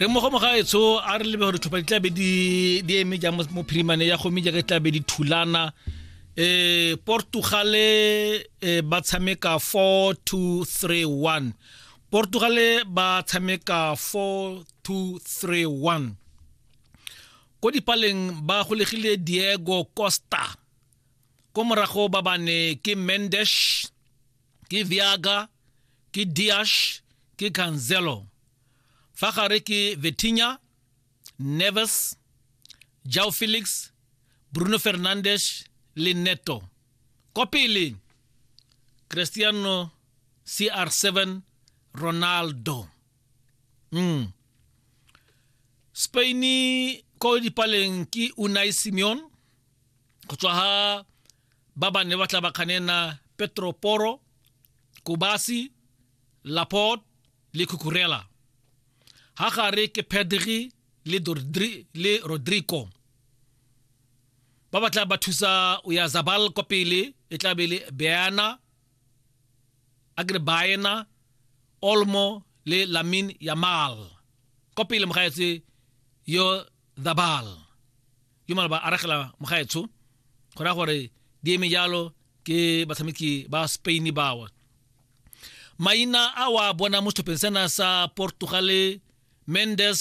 Re mmogo mogaetsho, a re lebe gore tlhopha di tlabe di eme jang mo phirimane ya gomme jaaka di tlabe di thulana. Portugale ba tshameka 4-2-3-1. Portugale ba tshameka 4-2-3-1. Ko dipaleng ba golegile Diego Costa, ko morago ba bane ke Mendes, ke Viaga, ke Dias, ke Cancelo. Fa gare ke Vitinha, Neves, João Felix, Bruno Fernandes le Neto. Ko pele Cristiano CR7 Ronaldo. Spain ko dipaleng ke Unai Simon, go tswa ha ba bane ba tla ba kganena Pedro Porro, Kubasi, Laporte le Cucurella. Ha gare ke Pedri le Rodri le Rodrigo. Ba batla ba thusa Oyarzabal kwa pele, e tla be le Beana, Agre Baena, Olmo le Lamine Yamal. Kwa pele mogaetse yo Zabal. Yo malaba aragela mogaetsho. Go raya gore di eme jalo ke batshameki ba Spain bawa. Maina a wa bona mo setlhopheng sena sa Portugal, Mendes.